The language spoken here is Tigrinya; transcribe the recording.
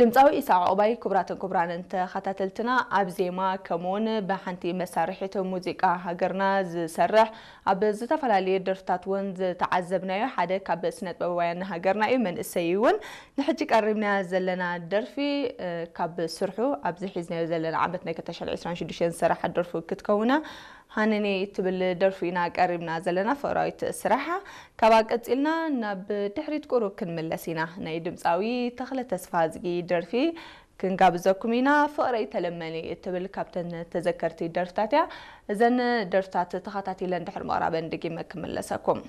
ድምፃዊ ኢሳቅ ዑቅባይ። ክቡራትን ክቡራንን ተኸታተልትና፣ ኣብ ዜማ ከምኡውን ብሓንቲ መሳርሒት ሙዚቃ ሃገርና ዝሰርሕ፣ ኣብ ዝተፈላለዩ ደርፍታት እውን ዝተዓዘብናዮ ሓደ ካብ ስነጥበባውያን ሃገርና እዩ። መንእሰይ እውን። ንሕጂ ቀሪብናያ ዘለና ደርፊ ካብ ስርሑ ኣብዚ ሒዝናዮ ዘለና ዓመት ናይ ክልተ ሽሕን ዕስራን ሽዱሽተን ዝሰረሓት ደርፉ ክትከውና ሃነኔ እትብል ደርፊ ኢና ቀሪብና ዘለና፣ ፍቕራዊት ስራሓ። ካብኣ ቀጺልና ናብ ድሕሪት ቁሩብ ክንምለስ ኢና። ናይ ድምጻዊ ተኽለ ተስፋዝጊ ደርፊ ክንጋብዘኩም ኢና። ፍቕረይ ተለመኒ እትብል ካብተን ተዘከርቲ ደርፍታት እያ። እዘን ደርፍታት ተኸታቲለን ድሕሪ ምቕራበን ደጊመ ክምለሰኩም።